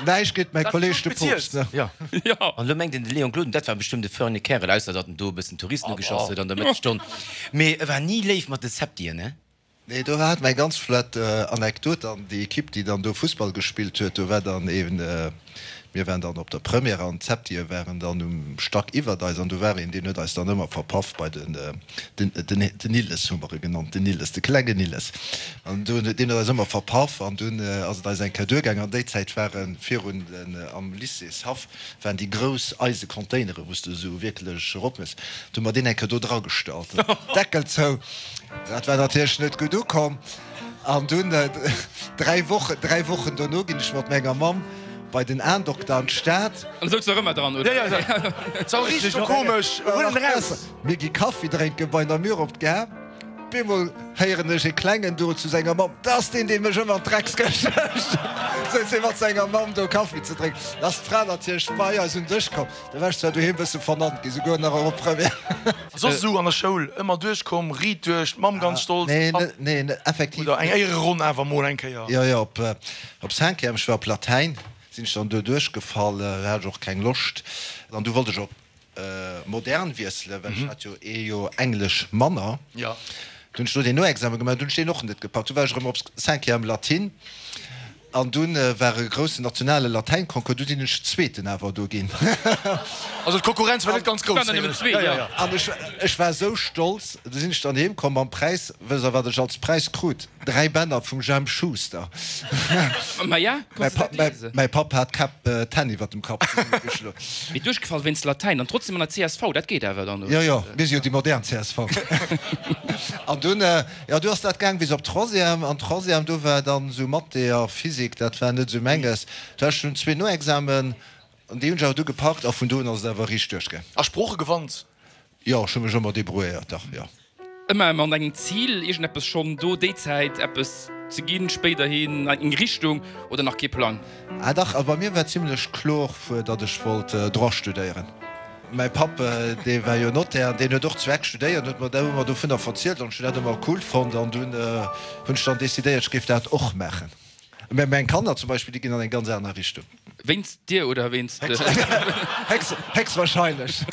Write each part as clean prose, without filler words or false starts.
Näischt géint mäi Kolleg de Poopst, ne? Jo. An elo mengt een, de Léon Gloden, dat war bestëmmt e förne Kärel, ausser datt en do e bëssen Touristen ugeschoss huet an der Mëttesstonn. Mee e war ni léif mat de Septien, ne? Nee, do hat mer eng ganz flott Anekdot an déi Ekipp, déi dann do Fussball gespillt huet, do war dann een, mir waren dann op der Première an d'Septië waren dann um Stack iwwert eis an do war een, deen huet eis dann ëmmer verpaff bei den, den, den Nilles hu mer e genannt, den Nilles, de klengen Nilles. An do, deen huet eis ëmmer verpaff an dunn ass et eis eng Kéier duergaangen. An déi Zäit ware virun den, am Lycéeshaff waren déi grouss eise Containere wou s de esou wierklech erop muss, do hu mer deen eng Kéier do dragestallt, Deckel zou. Dat war natierlech net gutt ukomm. An dunn, dräi Wochen, dräi Wochen dono, ginn ech mat menger Mamm bei den Aendokter an d'Stad. An da souz nach ëmmer dran, oder? Jo, jo, et war richteg komesch. Huel en eraus! Mir gi Kaffi drénke bei Namur op d'Gare. Bemol héieren ech e Klengen do zu senger Mamm, Dat ass deen, dee mech ëmmer an d'Dreckskëscht mécht. Souz hie mat senger Mamm do Kaffi ze drénken. Da ass d'Fra natierlech bei eis un Dësch komm. Da war ech zwar doheem bësse vernannt ginn, souguer nach op Première. A soss esou an der Schoul ëmmer duerchkomm, riit duerch, d'Mamm ganz stolz, de Papp. Nee, nee, effektiv. Oder eng Éiereronn awer mol eng Kéier. Jo, jo, op, op Cinquième, ech war op Latäin, sinn ech dann do duerchgefall, do hat ech och keng Loscht. An du wollt ech op Modern wiesselen, well ech hat jo ee Joer Englesch manner. Jo. Du hunn ech do deen Noexamen gemaach, du hunn ech deen och net gepackt. Du war ech erëm op Cinquième Latin. An dunn war e groussen nationale Latäinconcours, du sinn ech Zweeten awer do ginn. Also d'Konkurrenz war net ganz grouss. An ech, ech war esou stolz, du sinn ech dann heem komm mam Präis, wësst der wat ech als Präis krut? 3 Bänner vum Jemp Schuster. Mäi Papp, mäi Papp hat d'Käpp, d'Hänn iwwert dem Kapp zesummegeschloen. Mee duerchgefall wéinst Latäin an trotzdem an der csv, dat geet awer dann, oder? Jo, jo, mir si jo déi modern csv. An dunn. Jo, du ass dat gaang bis op Troisième. An Troisième, do war dann esou Mathé a Physik, dat war net esou menges. Do hat ech dunn zwee Noexamen, an déi hunn ech awer du gepackt a vun do un ass et awer riicht duerchgaang. A Sprooche gewannt? Jo, ech hu mech ëmmer debrouilléiert, dach, jo. Ëmmer mat engem Zil, iergendeppes schonn do déi Zäit eppes ze ginn, spéiderhin eng Richtung oder nach kee Plang? Ah dach, also bei mir war zimlech kloer, datt ech wollt Droit studéieren. Mäi Papp, dee war jo Notaire an deen huet och zu Eck studéiert, huet mer ëmmer dovunner verzielt an ech hunn dat ëmmer cool fonnt an dunn hunn ech dann decidéiert, ech géif dat och maachen. Mä meng Kanner zum Beispill, déi ginn an eng ganz aner Richtung. Wéinst dir oder wéinst. Héchstwahrscheinlech.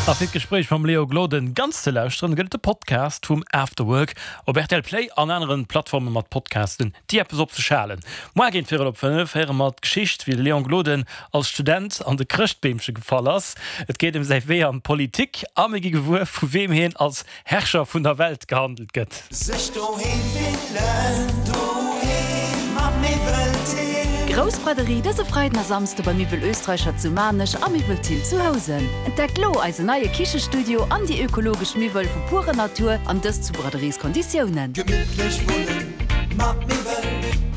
A fir d'Gespréich mam Léo Gloden ganz ze lauschteren, gëtt et de Podcast vum After Work op rtl Play an aneren Plattforme mat Podcasten. Déi eppes op sech halen. Moar géint virel op 5 héiere mer d'Geschicht, wéi de Léon Gloden als Student an de Chrëschtbeemche gefall ass. Et geet ëm säi Wee an d'Politik a mir gi gewuer, vu weem hien als Herrscher vun der Welt gehandelt gëtt. Sech doheem fillen, doheem mat Miwwel Thill. Grouss Braderie dëse Freiden a Samsde bei Miwwel Österreicher zu Maarnech a Miwwel Thill zu Housen. Entdeckt lo eisen neie Kichestudio an déi ökologesch Miwwel vu purer Natur an dëst zu Braderieskonditiounen. Gemittlech wunnen mat Miwwel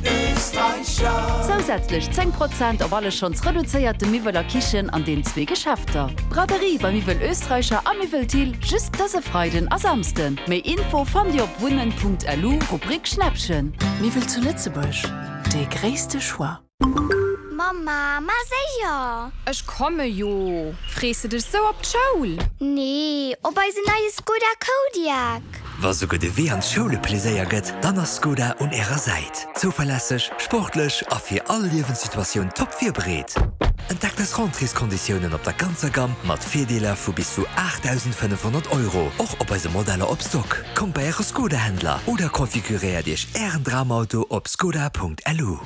Österreicher. Zousätzlech 10 Prozent op alle schonns reduzéierte Miwwel a Kichen an den zwee Geschäfter. Braderie bei Miwwel Österreicher a Miwwel Thill just dëse Freiden a Samsden. Méi Info fannt Dir op wunnen.lu, Rubrik Schnäppchen. Miwwel zu Lëtzebuerg, dee gréisste Choix. Mamma, ma séier! Ech komme jo! Frees de dech sou op d'Schoul? Nee, op eisen neie Skoda Kodiaq! Wa souguer de Wee an d'Schoul e Pleséier gëtt, dann ass Skoda un ärer Säit. Zouverlässeg, sportlech a fir all Liewenssituatioun top virbereet. Entdeckt eis Rentréeskonditiounen op der ganzer Gamm mat Virdeeler vu bis zu 8.500 Euro, och op eise Modeller op Stock. Kommt bei äre Skoda-Händler oder konfiguréiert iech ären Dramauto op skoda.lu.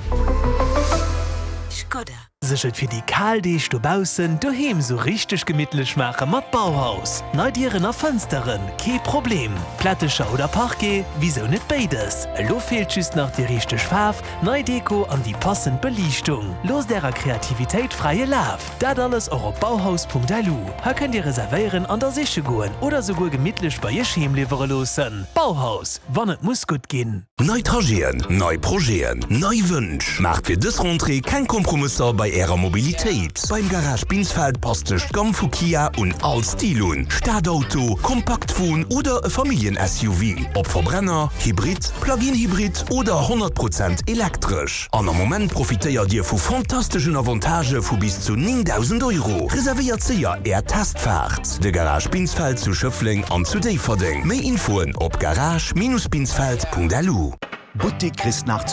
Skoda. Sech et fir déi kal Deeg dobaussen doheem sou richteg gemittlech maache mat Bauhaus. Nei Dieren a Fënsteren, kee Problem. Plättecher oder Parquet, wisou net béides? Elo feelt just nach déi richteg Faarf, nei Deko an déi passend Beliichtung. Loosst ärer Kreativitéit fräie Laf! Dat alles och op bauhaus.lu. Hei kënnt dir reservéieren an da siche goen oder souguer gemittlech bei iech heem liwwere loossen. Bauhaus, wann et muss gutt ginn. Nei Trajeten, nei Projeten, nei Wënsch. Maacht fir dës Rentrée keng Kompromësser bei Ärer Mobilitéit. Beim Garage Binsfeld passt sech d'Gamm vu Kia un all Stil un, Stadauto, Kompaktwon oder e Familljen-SUV, ob Verbrenner, Hybrid, Plug-in-Hybrid oder 100 Prozent elektresch. An am Moment profitéiert Dir vu fantasteschen Avantagë vu bis zu 9.000 Euro. Reservéiert séier Är Testfaart! De Garage Binsfeld zu Schëffleng an zu Déifferdeng. Méi Infoen op garage-binsfeld.lu. Buttik Christnach zu.